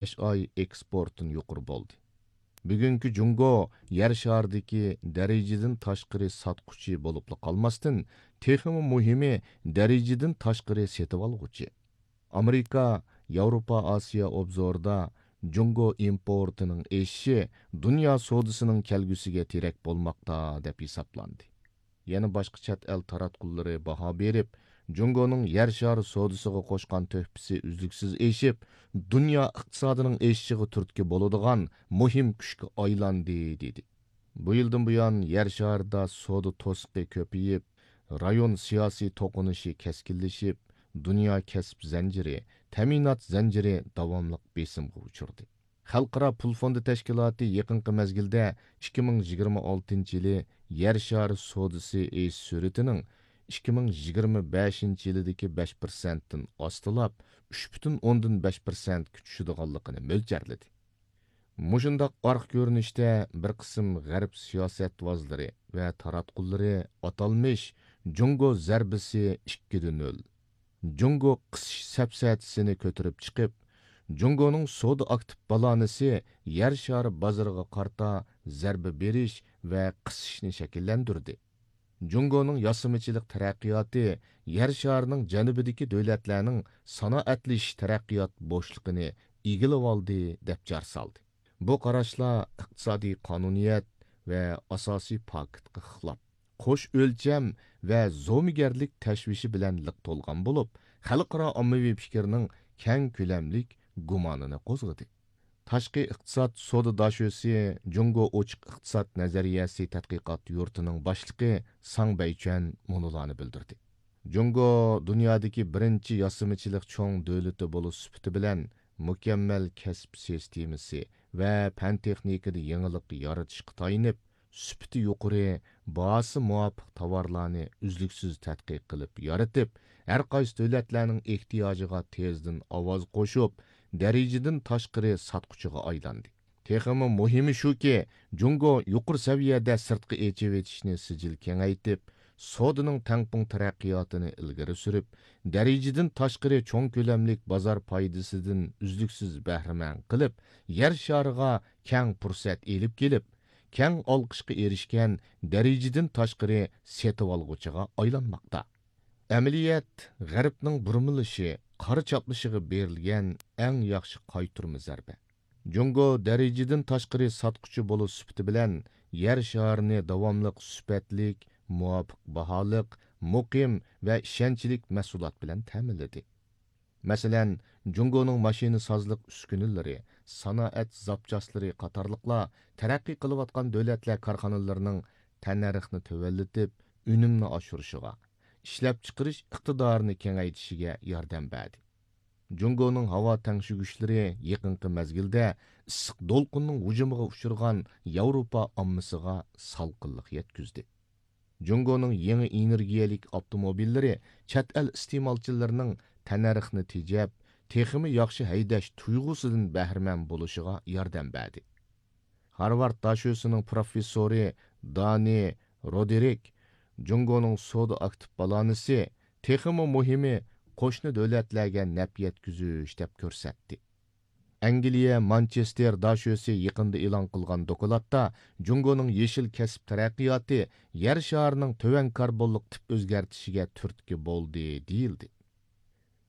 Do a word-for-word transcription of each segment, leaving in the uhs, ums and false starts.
ئاي ئېكسپورتتىن يۇقىرى بولدى. بۈگۈنكى جۇڭگو يەر شارىدىكى دەرىجىدىن تاشقىرى ساتقۇچى بولۇپلا قالماستىن، تېخىمۇ مۇھىمى، دەرىجىدىن تاشقىرى سېتىۋالغۇچى. ئامېرىكا ياۋروپا ئاسىيا ئوبزورىدا جۇڭگو ئىمپورتىنىڭ ئېشىشى دۇنيا سودىسىنىڭ كەلگۈسىگە تىرەك بولماقتا، دەپ ھېسابلاندى. يەنە باشقا چەت ئەل تاراتقۇلىرى باھا بېرىپ، جۇڭگونىڭ يەر شارى سودىسىغا قوشقان تۆھپىسى ئۈزلۈكسىز ئېشىپ، دۇنيا ئىقتىسادىنىڭ ئېشىشىغا تۈرتكە بولىدىغان مۇھىم كۈچكە ئايلاندى، دېدى. بۇ يىلدىن بۇيان، يەر شارىدا سودا توسۇقى كۆپىيىپ، رايون سىياسىي توقۇنۇشى كەسكىنلىشىپ، دۇنيا كەسىپ زەنجىرى، تەمىنات زەنجىرى داۋاملىق بېسىمغا ئۇچرىدى. خەلقئارا پۇل فوندى تەشكىلاتى يېقىنقى مەزگىلدە ئىككى مىڭ يىگىرمە ئالتىنچى يىلى يەر شارى سودىسى ئېشىش سۈرئىتىنىڭ ئىككى مىڭ يىگىرمە بەشىنچى يىلىدىكى بەش پىرسەنتتىن ئاستىلاپ، ئۈچ پۈتۈن ئوندىن بەش پىرسەنتكە چۈشىدىغانلىقىنى مۆلچەرلىدى. مۇشۇنداق ئارقا كۆرۈنۈشتە بىر قىسىم غەرب سىياسەتۋازلىرى ۋە تاراتقۇلىرى ئاتالمىش جۇڭگو زەربىسى ئىككى دە نۆل، جۇڭگو قىسىش سەپسەتىسىنى كۆتۈرۈپ چىقىپ، جۇڭگونىڭ سودا ئاكتىپ بالانسى يەر شارى بازىرىغا قارىتا زەربە بېرىش ۋە قىسىشنى شەكىللەندۈردى. جۇڭگونىڭ ياسىمىچىلىق تەرەققىياتى يەر شارىنىڭ جەنۇبىدىكى دۆلەتلەرنىڭ سانائەتلىشىش تەرەققىيات بوشلۇقىنى ئىگىلىۋالدى، دەپ جار سالدى. بۇ قاراشلار ئىقتىسادىي قانۇنىيەت ۋە ئاساسىي پاكىتقا خىلاپ، قوش ئۆلچەم ۋە زومىگەرلىك تەشۋىشى بىلەن لىق تولغان بولۇپ، خەلقئارا ئاممىۋى پىكىرنىڭ كەڭ كۆلەملىك گۇمانىنى قوزغىدى. تاشقى ئىقتىساد سودا داشۆسى جۇڭگو ئوچۇق ئىقتىساد نەزەرىيەسى تەتقىقات يۇرتىنىڭ باشلىقى ساڭ بەيچۈەن مۇنۇلارنى بىلدۈردى. جۇڭگو دۇنيادىكى بىرىنچى ياسىمىچىلىق چوڭ دۆلىتى بولۇش سۈپىتى بىلەن، مۇكەممەل كەسىپ سىستېمىسى ۋە پەن تېخنىكىدا يېڭىلىق يارىتىشقا تايىنىپ، سۈپىتى يۇقىرى، باھاسى مۇۋاپىق تاۋارلارنى ئۈزلۈكسىز تەتقىق قىلىپ يارىتىپ، ھەر قايسى دۆلەتلەرنىڭ ئېھتىياجىغا تېزدىن ئاۋاز قوشۇپ، دەرىجىدىن تاشقىرى ساتقۇچىغا ئايلاندى. تېخىمۇ مۇھىمى شۇكى، جۇڭگو يۇقىرى سەۋىيەدە سىرتقا ئېچىۋېتىشنى سىجىل كېڭەيتىپ، سودىنىڭ تەڭپۇڭ تەرەققىياتىنى ئىلگىرى سۈرۈپ، دەرىجىدىن تاشقىرى چوڭ كۆلەملىك بازار پايدىسىدىن ئۈزلۈكسىز بەھرىمەن قىلىپ، يەر شارىغا كەڭ پۇرسەت ئېلىپ كېلىپ، كەڭ ئالقىشقا ئېرىشكەن دەرىجىدىن تاشقىرى سېتىۋالغۇچىغا ئايلانماقتا. ئەمەلىيەت غەربنىڭ بۇرمىلىشى، قارا چاپلىشىغا بېرىلگەن ئەڭ ياخشى قايتۇرما زەربە. جۇڭگو دەرىجىدىن تاشقىرى ساتقۇچى بولۇش سۈپىتى بىلەن يەر شارىنى داۋاملىق سۈپەتلىك، مۇۋاپىق باھالىق، مۇقىم ۋە ئىشەنچلىك مەھسۇلات بىلەن تەمىنلىدى. مەسىلەن، جۇڭگونىڭ ماشىنىسازلىق ئۈسكۈنىلىرى، سانائەت زاپچاسلىرى قاتارلىقلار تەرەققىي قىلىۋاتقان دۆلەتلەر كارخانىلىرىنىڭ تەننەرخنى تۆۋەنلىتىپ، ئۈنۈمنى ئاشۇرۇشىغا، ئىشلەپچىقىرىش ئىقتىدارىنى كېڭەيتىشىگە ياردەم بەردى. جۇڭگونىڭ ھاۋا تەڭشىگۈچلىرى يېقىنقى مەزگىلدە ئىسسىق دولقۇننىڭ ھۇجۇمىغا ئۇچرىغان ياۋروپا ئاممىسىغا سالقىنلىق يەتكۈزدى. جۇڭگونىڭ يېڭى ئېنېرگىيەلىك ئاپتوموبىللىرى چەت ئەل ئىستېمالچىلىرىنىڭ تەننەرخنى تېجەپ، تېخىمۇ ياخشى ھەيدەش تۇيغۇسىدىن بەھرىمەن بولۇشىغا ياردەم بەردى. ھارۋارد داشۆسىنىڭ پروفېسسورى دانى رودېرىك جۇڭگونىڭ سودا ئاكتىپ بالانسى تېخىمۇ مۇھىمى قوشنا دۆلەتلەرگە نەپ يەتكۈزۈش دەپ كۆرسەتتى. ئەنگلىيە مانچېستېر داشۆسى يېقىندا ئېلان قىلغان دوكلاتتا جۇڭگونىڭ يېشىل كەسىپ تەرەققىياتى يەر شارىنىڭ تۆۋەن كاربونلۇق تىپ ئۆزگەرتىشىگە تۈرتكە بولدى، دېيىلدى.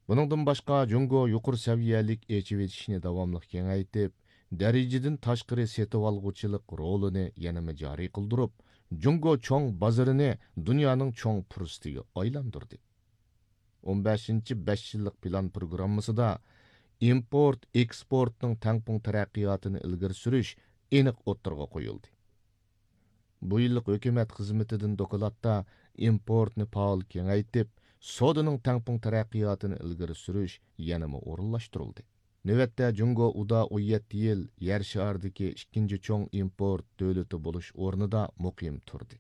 بۇنىڭدىن باشقا، جۇڭگو يۇقىرى سەۋىيەلىك ئېچىۋېتىشنى داۋاملىق كېڭەيتىپ، دەرىجىدىن تاشقىرى سېتىۋالغۇچىلىق رولىنى يەنىمۇ جارى قىلدۇرۇپ، جۇڭگو چوڭ بازىرىنى دۇنيانىڭ چوڭ پۇرسىتىگە ئايلاندۇردى. ئون بەشىنچى بەش يىللىق پىلان پروگراممىسىدا ئىمپورت، ئېكسپورتنىڭ تەڭپۇڭ تەرەققىياتىنى ئىلگىرى سۈرۈش ئېنىق ئوتتۇرىغا قويۇلدى. بۇ يىللىق ھۆكۈمەت خىزمىتىدىن دوكلاتتا ئىمپورتنى پائال كېڭەيتىپ، سودىنىڭ تەڭپۇڭ تەرەققىياتىنى ئىلگىرى سۈرۈش يەنىمۇ ئورۇنلاشتۇرۇلدى. نۆۋەتتە، جۇڭگو ئۇدا ئون يەتتە يىل يەر شارىدىكى ئىككىنچى چوڭ ئىمپورت دۆلىتى بولۇش ئورنىدا مۇقىم تۇردى.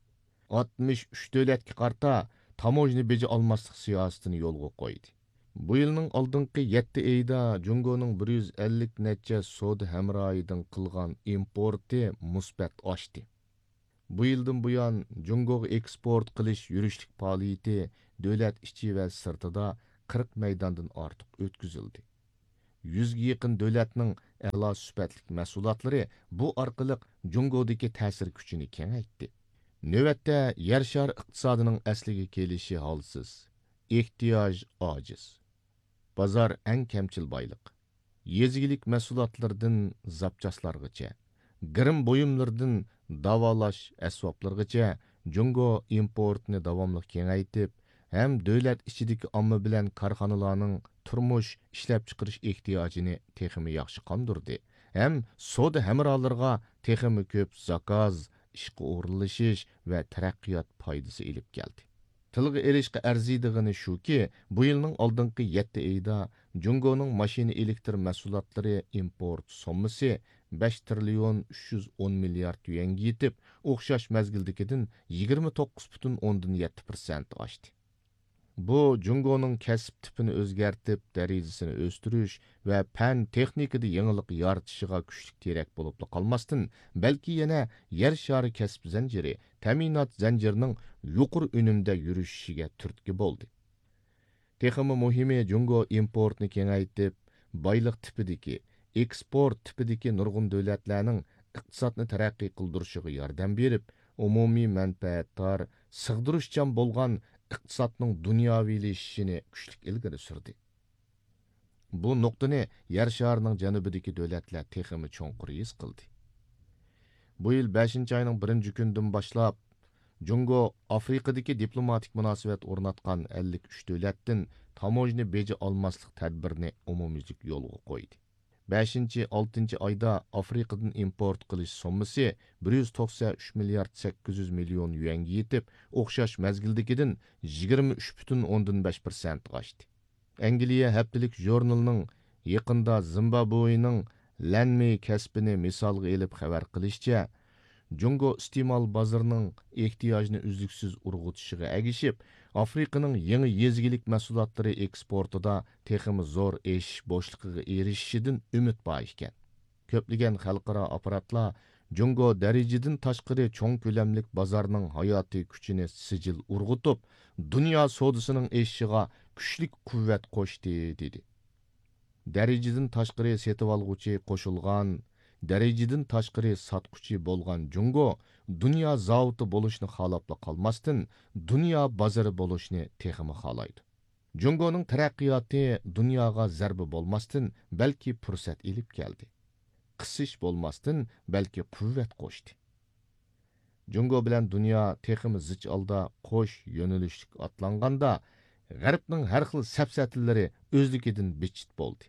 ئاتمىش ئۈچ دۆلەتكە قارىتا تاموژنا بېجى ئالماسلىق سىياسىتىنى يولغا قويدى. بۇ يىلنىڭ ئالدىنقى يەتتە ئېيىدا جۇڭگونىڭ بىر يۈز ئەللىك نەچچە سودا ھەمراھىدىن قىلغان ئىمپورتى مۇسبەت ئاشتى. بۇ يىلدىن بۇيان، جۇڭگوغا ئېكسپورت قىلىش يۈرۈشلۈك پائالىيىتى دۆلەت ئىچى ۋە سىرتىدا قىرىق مەيداندىن ئارتۇق ئۆتكۈزۈلدى. يۈزگە يېقىن دۆلەتنىڭ ئەلا سۈپەتلىك مەھسۇلاتلىرى بۇ ئارقىلىق جۇڭگودىكى تەسىر كۈچىنى كېڭەيتتى. نۆۋەتتە يەر شارى ئىقتىسادىنىڭ ئەسلىگە كېلىشى ھالسىز، ئېھتىياج ئاجىز. بازار ئەڭ كەمچىل بايلىق. يېزا ئىگىلىك مەھسۇلاتلىرىدىن زاپچاسلارغىچە، گىرىم بۇيۇملىرىدىن داۋالاش ئەسۋابلىرىغىچە جۇڭگو ئىمپورتنى داۋاملىق كېڭەيتىپ، ھەم دۆلەت ئىچىدىكى ئامما بىلەن كارخانىلارنىڭ تۇرمۇش، ئىشلەپچىقىرىش ئېھتىياجىنى تېخىمۇ ياخشى قاندۇردى ھەم سودا ھەمراھلىرىغا تېخىمۇ كۆپ زاكاز، ئىشقا ئورۇنلىشىش ۋە تەرەققىيات پايدىسى ئېلىپ كەلدى. تىلغا ئېلىشقا ئەرزىيدىغىنى شۇكى، بۇ يىلنىڭ ئالدىنقى يەتتە ئېيىدا جۇڭگونىڭ ماشىنا ئېلېكتر مەھسۇلاتلىرى ئىمپورت سوممىسى بەش تىرىليون ئۈچ يۈز ئون مىليارد يۈەنگە يېتىپ، ئوخشاش مەزگىلدىكىدىن يىگىرمە توققۇز پۈتۈن ئوندىن يەتتە پىرسەنت ئاشتى. بۇ جۇڭگونىڭ كەسىپ تىپىنى ئۆزگەرتىپ، دەرىجىسىنى ئۆستۈرۈش ۋە پەن تېخنىكىدا يېڭىلىق يارىتىشىغا كۈچلۈك تىرەك بولۇپلا قالماستىن، بەلكى يەنە يەر شارى كەسىپ زەنجىرى، تەمىنات زەنجىرىنىڭ يۇقىرى ئۈنۈمدە يۈرۈشۈشىگە تۈرتكە بولدى. تېخىمۇ مۇھىمى، جۇڭگو ئىمپورتنى كېڭەيتىپ، بايلىق تىپىدىكى، ئېكسپورت تىپىدىكى نۇرغۇن دۆلەتلەرنىڭ ئىقتىسادنى تەرەققىي قىلدۇرۇشىغا ياردەم بېرىپ، ئومۇمىي مەنپەئەتدار، سىغدۇرۇشچان بولغان ئىقتىسادنىڭ دۇنياۋىلىشىشىنى كۈچلۈك ئىلگىرى سۈردى. بۇ نۇقتىنى يەر شارىنىڭ جەنۇبىدىكى دۆلەتلەر تېخىمۇ چوڭقۇر ھېس قىلدى. بۇ يىل بەشىنچى ئاينىڭ بىرىنچى كۈنىدىن باشلاپ، جۇڭگو ئافرىقىدىكى دىپلوماتىك مۇناسىۋەت ئورناتقان ئەللىك ئۈچ دۆلەتتىن تاموژنا بېجى ئالماسلىق تەدبىرىنى ئومۇميۈزلۈك يولغا قويدى. بەشىنچى، ئالتىنچى ئايدا ئافرىقىدىن ئىمپورت قىلىش سوممىسى بىر يۈز توقسەن ئۈچ مىليارد سەككىز يۈز مىليون يۈەنگە يېتىپ، ئوخشاش مەزگىلدىكىدىن يىگىرمە ئۈچ پۈتۈن ئوندىن بەش پىرسەنت ئاشتى. ئەنگلىيە ھەپتىلىك ژۇرنىلىنىڭ يېقىندا زىمبابۋېنىڭ لەنمېي كەسپىنى مىسالغا ئېلىپ خەۋەر قىلىشىچە، جۇڭگو ئىستېمال بازىرىنىڭ ئېھتىياجنى ئۈزلۈكسىز ئۇرغۇتۇشىغا ئەگىشىپ، ئافرىقىنىڭ يېڭى يېزا ئىگىلىك مەھسۇلاتلىرى ئېكسپورتىدا تېخىمۇ زور ئېشىش بوشلۇقىغا ئېرىشىشىدىن ئۈمىد بار ئىكەن. كۆپلىگەن خەلقئارا ئاپپاراتلار جۇڭگو دەرىجىدىن تاشقىرى چوڭ كۆلەملىك بازارنىڭ ھاياتىي كۈچىنى سىجىل ئۇرغۇتۇپ، دۇنيا سودىسىنىڭ ئېشىشىغا كۈچلۈك قۇۋۋەت قوشتى، دېدى. دەرىجىدىن تاشقىرى سېتىۋالغۇچى قوشۇلغان، دەرىجىدىن تاشقىرى ساتقۇچى بولغان جۇڭگو دۇنيا زاۋۇتى بولۇشنى خالاپلا قالماستىن، دۇنيا بازىرى بولۇشنى تېخىمۇ خالايدۇ. جۇڭگونىڭ تەرەققىياتى دۇنياغا زەربە بولماستىن، بەلكى پۇرسەت ئېلىپ كەلدى. قىسىش بولماستىن، بەلكى قۇۋۋەت قوشتى. جۇڭگو بىلەن دۇنيا تېخىمۇ زىچ ھالدا قوش يۆنىلىشلىك ئاتلانغاندا، غەربنىڭ ھەر خىل سەپسەتىلىرى ئۆزلۈكىدىن بىتچىت بولدى.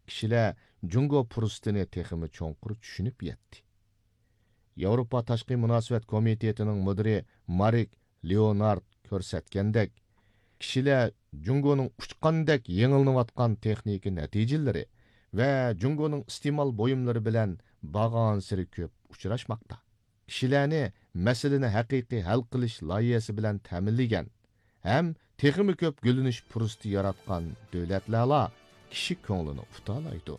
كىشىلەر جۇڭگو پۇرسىتىنى تېخىمۇ چوڭقۇر چۈشىنىپ يەتتى. ياۋروپا تاشقى مۇناسىۋەت كومىتېتىنىڭ مۇدىرى مارك لېئونارد كۆرسەتكەندەك، كىشىلەر جۇڭگونىڭ ئۇچقاندەك يېڭىلىنىۋاتقان تېخنىكا نەتىجىلىرى ۋە جۇڭگونىڭ ئىستېمال بۇيۇملىرى بىلەن بارغانسېرى كۆپ ئۇچراشماقتا. كىشىلەرنى مەسىلىنى ھەقىقىي ھەل قىلىش لايىھەسى بىلەن تەمىنلىگەن ھەم تېخىمۇ كۆپ گۈللىنىش پۇرسىتى ياراتقان دۆلەتلەرلا كىشى كۆڭلىنى ئۇتالايدۇ.